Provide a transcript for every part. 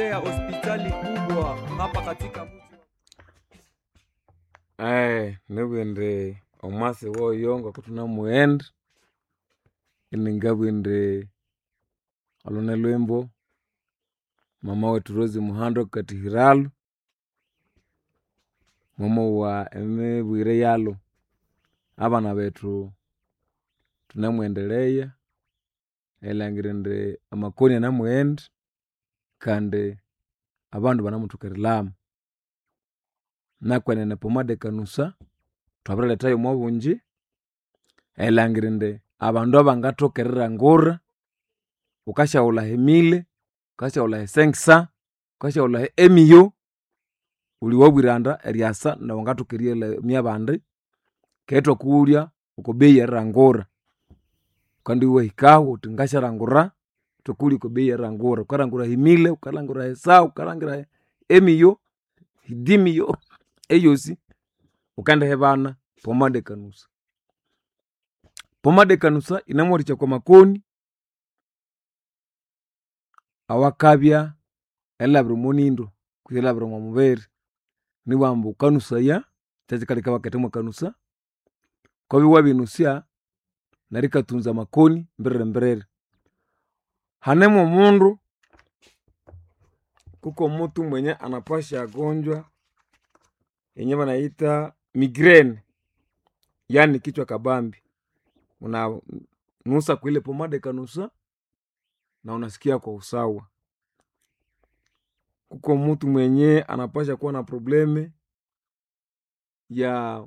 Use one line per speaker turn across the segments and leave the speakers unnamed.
kuletea hospitali kubwa hapa katika mji
Nibugha indi omwasi woyo ngokuthunamughenda, iningabugha indi olhu nilhwimbo mama wethu Rose Muhando akatihiralhu, mwamowa emibwire yalhu. Abana bethu thunemughendelheya erilhangira indi amakoni anamughenda kandi abandu banemuthoka erilhama. Nakwenene epomade ekanusa thwabiriletha yomwabungi erilhangira indi abandu abangathoka erilhangura, wukasyaghulha emile, wukasyahulha e cinq cents, wukasyahulha emiyo, wuli wabwiranda eryasa nawu wangathoka eriyalamya abandi keghe ithwakughulya okwa bei erilhangura. Wukandibya iwahikahu wuthi ngasyalhangura, ithwakughulya okwa bei erilhangura. Wukalhangura emile, wukalhangura esaha, wukalhangira emiyo, dimiyo eyosi wukendihibana pomade ekanusa. Pomade ekanusa yinemuwathikya okwa makoni awakabya erilhabira omo nyindo kutse erilhabira omo mubiri. Nibughambu wukanusaya, kyekikaleka ibakahitha mwakanusa, wukabya wabirinusya neryo ikatunza amakoni mbiririmbiriri. Hane mwomundu, kuko mutu mwenye anapasha gonjwa yenye banayita migraine yani kichwa kabambi, unanusa kwile pomade ekanusa na unasikia kwa usawa. Kuko mutu mwenye anapasha kuwa na probleme ya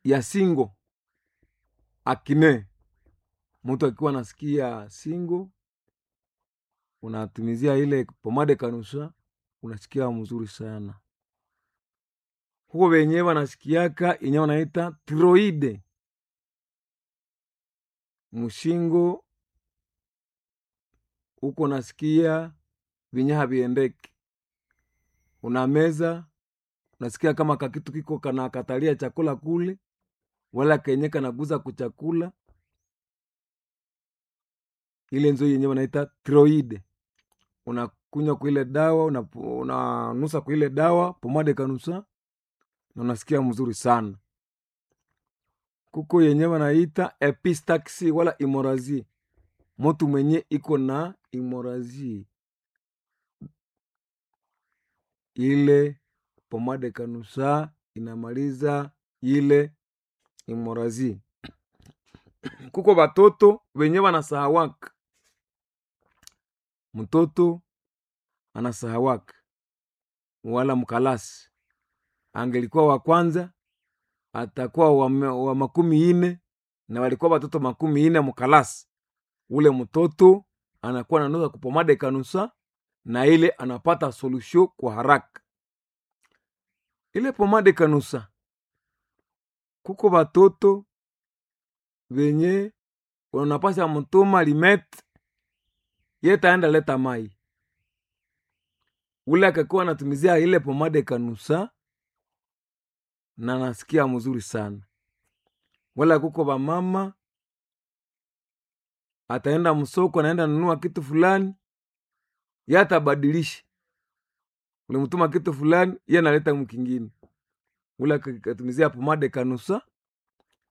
ya singo akine, mutu akiwa nasikia singo unatumizia ile pomade kanusa unasikia mzuri sana. Huko wenye wanasikiaka yenye wanaita tiroide mushingo huko nasikia vinye haviendeki, unameza unasikia kama kakitu kiko kanakatalia chakula kule, wala kenye kanaguza kuchakula, ile nzo yenye wanaita tiroide. Unakunywa kuile dawa, unanusa kuile dawa pomade kanusa na unasikia mzuri sana. Kuko yenye wanaita epistaxi wala imorazi, mutu mwenye iko na imorazi ile pomade kanusa inamaliza ile imorazi. Kuko batoto wenye wanasahawaka, mtoto anasahawaka wala mkalasi angelikuwa wa kwanza atakuwa wa 40 na walikuwa watoto 40 mkalasi, ule mtoto anakuwa nanusa kupomade kanusa na ile anapata solution kwa haraka. Ile pomade kanusa, kuko batoto venye unapasha mutuma limete yetaenda leta mai, ule akakuwa anatumizia ile pomade kanusa na nasikia mzuri sana. Wala kuko bamama ataenda msoko, anaenda nunua kitu fulani, ye atabadilisha, ulimtuma kitu fulani, ye analeta mkingine. Ule akatumizia pomade kanusa,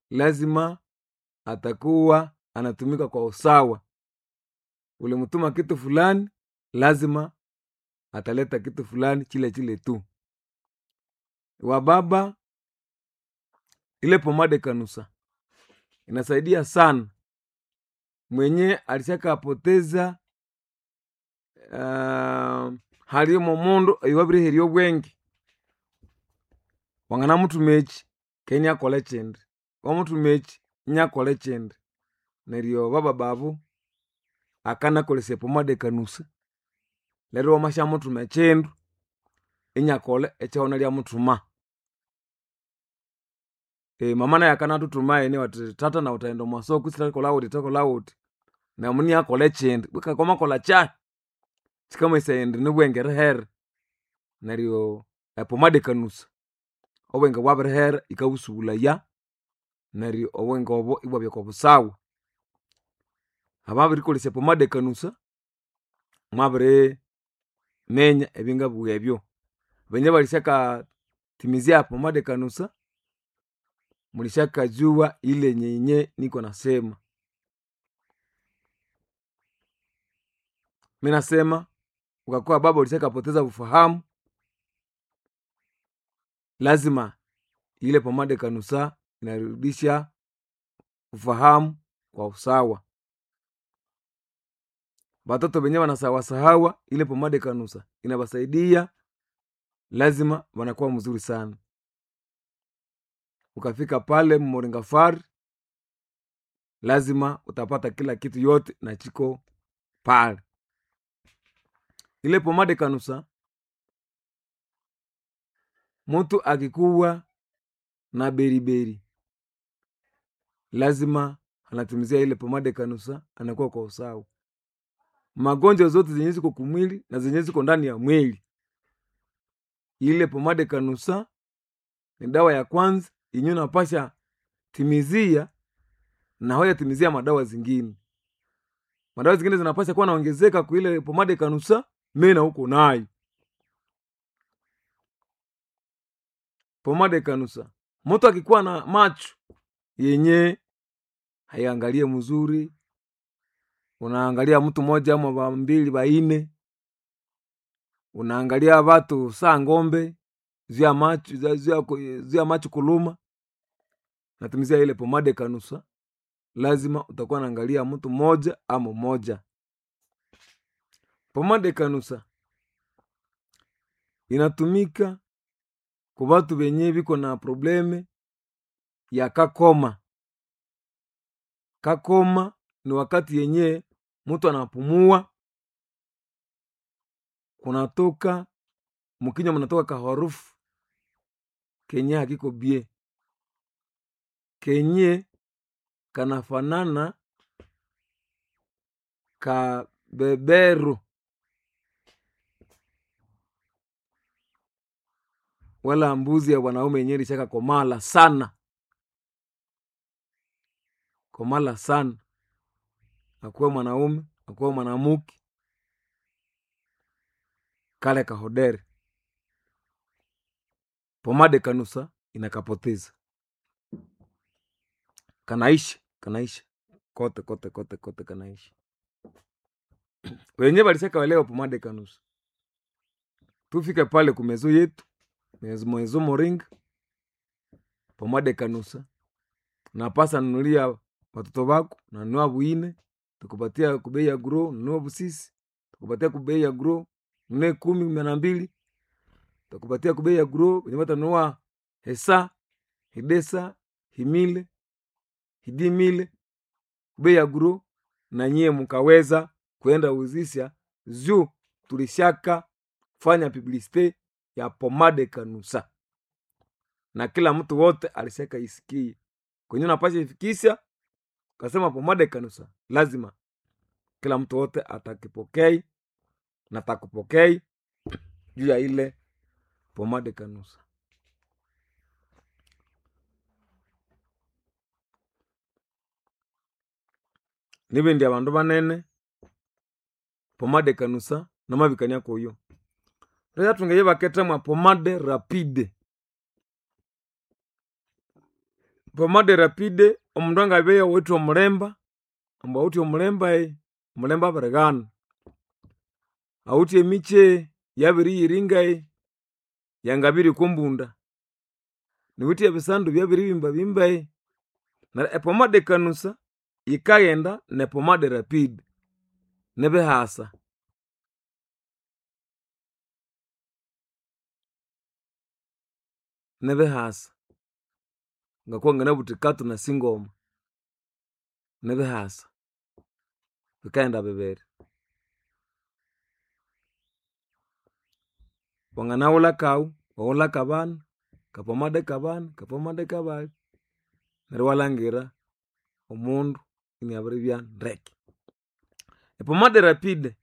lazima atakuwa anatumika kwa usawa. Ulimtuma kitu fulani, lazima ataleta kitu fulani chile chile tu. Wababa, ile pomade kanusa inasaidia sana mwenye alishakapoteza halimo mundu iwabiriherya obwenge, wanganamuthuma eki ke inyakolha ekindi, wamuthuma eki inyakolha ekindi, neryo bababa abo akanakolesya epomade ekanusa, neryo wamasyamuthuma ekindu inyakolha ekyawunalyamuthuma. Mama nayu akanathuthuma iniwe athi thatha nawu wuthayenda omwa soko kwisi thakolha wuthi thakolha wuthi, neryo iniakolha ekindi betu kwamakolha kyahi kyikamanyisaya indi nibwenge erihere. Neryo epomade ekanusa obwenge bwabirihera yikabusubulaya neryo obwenge obo ibwabya okwa busawa. Ababirikolesya epomade ekanusa. Mwabiri menya ebingabuwa ebyo. Benye balishakatimizia pomade kanusa, mulishakajua ile nyenye niko nasema. Mi nasema ukakuwa baba ulishakapoteza ufahamu, lazima ile pomade kanusa inarudisha ufahamu kwa usawa. Batoto benye wanasawasahawa, ile pomade kanusa inabasaidia, lazima wanakuwa mzuri sana. Ukafika pale Moringafari, lazima utapata kila kitu yote na chiko pale. Ile pomade kanusa, mtu akikuwa na beriberi lazima anatumizia ile pomade kanusa, anakuwa kwa usawa. Magonjwa zote zenye ziko kumwili na zenye ziko ndani ya mwili, ile pomade kanusa ni dawa ya kwanza yenye unapasha timizia na hoya timizia madawa zingine. Madawa zingine zinapasha kuwa naongezeka kwa ile pomade kanusa, mena huko nayo pomade kanusa. Mtu akikuwa na macho yenye haiangalie mzuri, unaangalia mtu mmoja ama mbili baine, unaangalia watu saa ng'ombe zia macho zia macho kuluma, natumizia ile pomade kanusa, lazima utakuwa naangalia mtu mmoja ama mmoja. Pomade kanusa inatumika kwa batu benye biko na probleme ya kakoma. Kakoma ni wakati yenye mtu anapumua kunatoka mkinywa, mnatoka kaharufu kenye hakiko bie, kenye kanafanana kabeberu wala mbuzi ya wanaume yenye ilishaka komala sana, komala sana, akuwe mwanaume akuwe mwanamuke, kale kahodere pomade kanusa inakapoteza, kanaisha kanaisha kote kote kote kote, kanaisha. Wenye balishaka welewa pomade kanusa, tufike pale kumezo yetu mwezo moringa pomade kanusa napasa nunulia watoto bako, nanunua bwine tukupatia kubei ya gro, nunua busisi tukupatia kubei ya gro, nunue 10 12 tukupatia kubei ya gro, wenye batanunua hesa hidesa himile hidimile kubei ya gro, na nyie mukaweza kwenda uzisha juu tulishaka fanya publicite ya pomade kanusa na kila mtu wote alishaka isikie kwenye napasha ifikisha, kasema pomade kanusa, lazima kila mtu wote atakipokei na takupokei juu ya ile pomade kanusa. Nibindi abandu banene pomade kanusa namabikania koyo rya tungeye baketemwa pomade rapide. Pomade rapide omundu angabeya owithe omulemba, ambu awithe omulemba omulemba abirighana, awithe emikye yabiriyiringa yangabiri okwambunda, niwithe ebisandu byabiribimbabimba, neryo epomade kanusa yikaghenda nepomade rapide nibihasa. Nibihasa ngakuwa nganabuthi katu na singoma, nibihasa bikaghenda bibiri. Wanganaghulha kawu, waghulha kabana, kapomade kabana, kapomade kabali, neryo iwalhangira omundu iniabiribya ndeke. Epomade rapide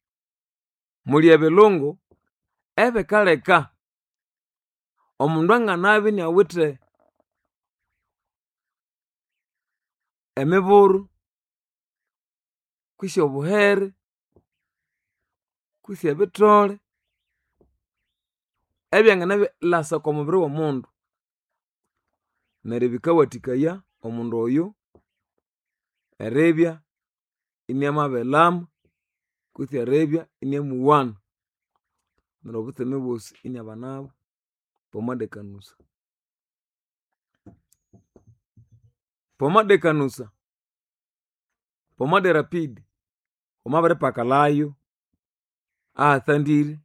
muli ebilungu ebikaleka omundu anganabya iniawithe emiburu kwisi obuhere. Kutse ebithole ebyanganalasa oko mubiri w'omundu. Neryo bikawathikaya omundu oyo eribya iniamabilama kutse eribya iniamuwana. Neryo obutseme bwosi iniabanabo pomade kanusa. Pomade kanusa, pomade rapide, wamabiripakalhayo ahathandire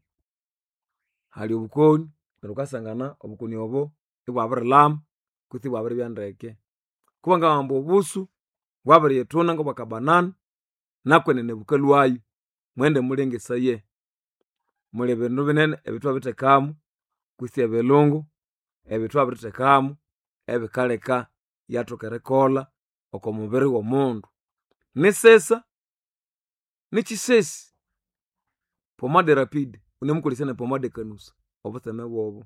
hali obukoni neryo wukasangana obukoni obo ibwabirilhama kutse ibwabiribya ndeke. Kubangabugha ambu obusu bwabiriyithuna ngobwakabanana nakwenene bukalhwayo mughende mulengesaye. Muli bindu binene ebyathwabirithekamu kutse ebilungu ebyathwabirithekamu ebikaleka iyathoka erikolha oko mubiri w'omundu. Nisisa nikyisesi pomade rapide wunemukolesya ne pomade kanusa obutseme bwobo.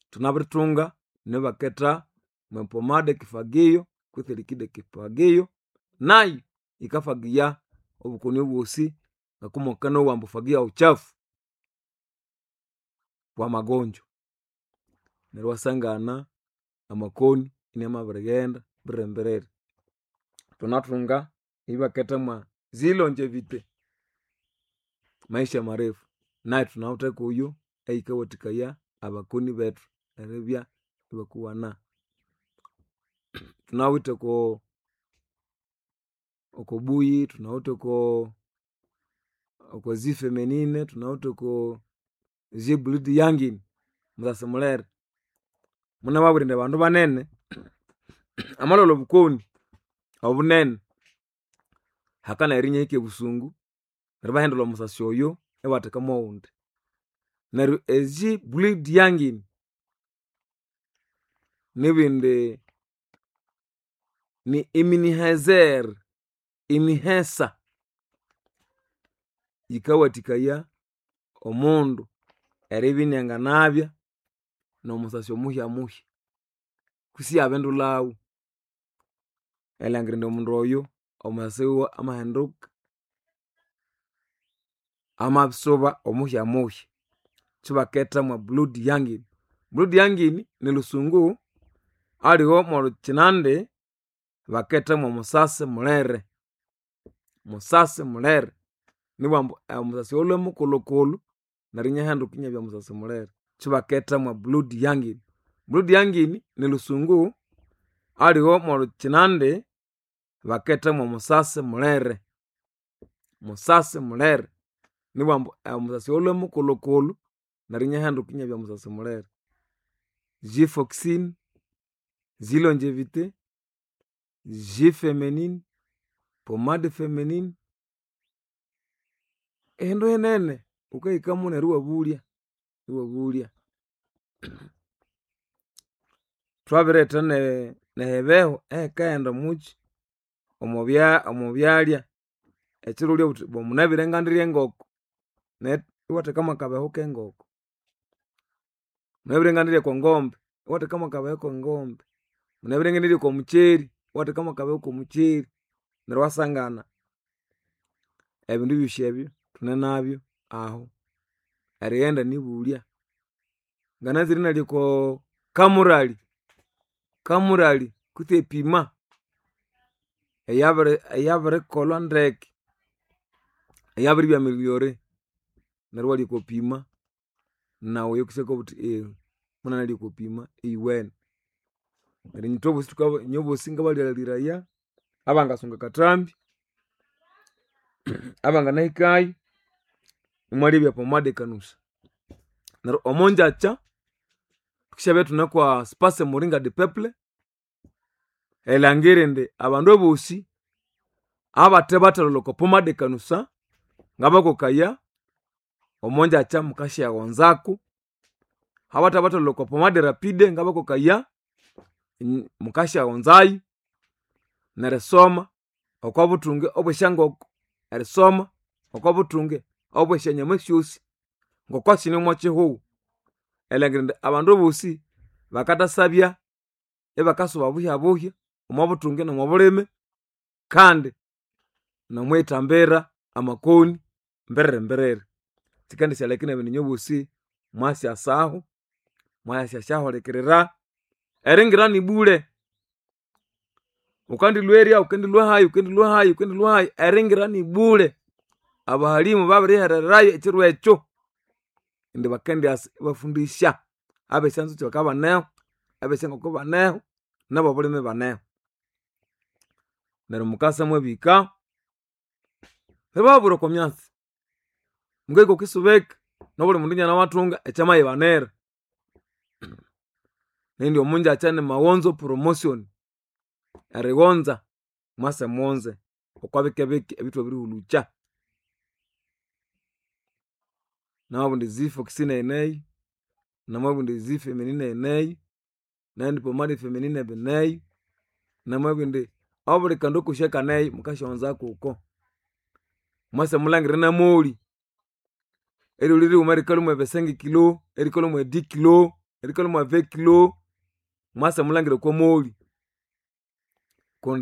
Thunabirithunga nibaketha mwe pomade kifagio kutse liquide kifagio nayo yikafagiya obukoni obwosi ngoku ambu fagia uchafu wa magonjwa. Neryo iwasangana amakoni inamabirighenda mbiririmbiriri. Thunathunga eyibaketha mwa zilongevite maisha marefu nayu thunawithe kuyo eyikawathikaya abakoni bethu eribya ibakuwana. Thunawithe oko okobuyi, thunawithe oko zifeminine, thunawithe oko zibulidi yangini musasi mulere. Munababwira indi abandu banene amalhwalha obukoni obunene hakanayira inahika ebusungu neryo ibahindulha omusasi oyo ibatheka mwowundi. Neryo ezi bleed yangini nibindi ni iminihezer imihesa yikawathikaya omundu eribya inianganabya nomusasi omuhyamuhya kwisi iyabindulhawu erilhangira indi omundu oyo omusasi wiwe amahinduka amabisuba omuhyamuhya. Kyibaketha mwa blood yangini. Blood yangini nilhusungu aliwe mwolhukyinandi baketha mwomusasi mulere. Musasi mulere nibughambu omusasi oyo alhwe mukulhukulhu neryo iniahinduka inabya musasi mulere. Kyibaketha mwa blood yangini. Blood yangini nilhusungu aliwe mwolhukyinandi baketha mwomusasi mulere. Musasi mulere nibughambu omusasi oyo alhwe mukulhukulhu neryo iniahinduka inabya musasi mulere. Zifoxine, zilongevite, zifeminine, pomade feminine, ehindu hinene wukahikamu neryo iwabulya, iwabulya. Thwabiretha nehibeho eyikaghenda omukyi omwabya omwabyalya ekyiro iwalya wuthi munabire ngandirye engoko neryo iwatheka mwakabehu kengoko. Munabire ngandirye okongombe iwatheka mwakabehu kengombe. Munabire ngendirya okomukyeri iwatheka mwakabehu komukyeri neryo iwasangana ebindu ebyosi ebyo thunenabyo ahu. Erighenda nibulya. Ngananzire inalya oko kamurali, kamurali kutse epima eyabirikolhwa ndeke eyabiribya ameliore neryo iwalya oko pima nawu eyokesya wuthi munanalya oko pima eyiwene. Neryo ithwebosi inywebosi ngabalhaghiraya abangasunga akathambi abanganahikayo imwalebya pomade kanusa. Neryo omongyakya thukisyabya ithune kwa espace muringa de peuple erilhangira indi abandu abosi abathe bathalholha oko pomade kanusa ngabakokaya omongyakya mukasyaghonzaku abathe bathalholha oko pomade rapide ngabakokaya mukasyaghonzayo nerisoma okobuthunge obwesyangoko, erisoma okobuthunge obwesyanyama syosi ngoko sine omokyihugho. Erilhangira indi abandu abosi bakathasabya ibakasuba buhyabuhya omobuthunge nomobulime kandi nomwithambira amakoni mbiririmbiriri. Sikandisyaleka inabana inywe bosi mwasyasaho, mwayasyasyahulekirira. Eringira ni bule. Ukandilwa erya, ukendilwa hayi, ukendilwa hayi, ukendilwa hayi, eringira ni bule. Abahalimu babirihererayo ekiro ekyo. Indi bakendyasa ibafundisya abesyanzukyi bakabya ibaneho, abesyangoko baneho, nabobulime ibaneho. Neryo mukasa mwabihika, ibababwira okwamyatsi, mukahika okwisubika nobuli mundu inanawathunga ekyamayibanira. Nindi omungyakya ni maghonzo promotion, erighonza mwase mughonze okwabikebike ebyathwabirihulhukya. Namabugha indi zifox neyineyo, namabugha indi zifeminine eyineyo, nayindi pomade feminine bineyo, namabugha indi obuli kandu kosi akaneyo mukasyaghonza kuko. Mwase mulhangire namoli, eryoli righuma rikalhwa mwe vingt-cinq kilo, erikalhwa mwe dix kilo, erikalhwa mwe vingt kilo, mwase mulhangire okwamoli.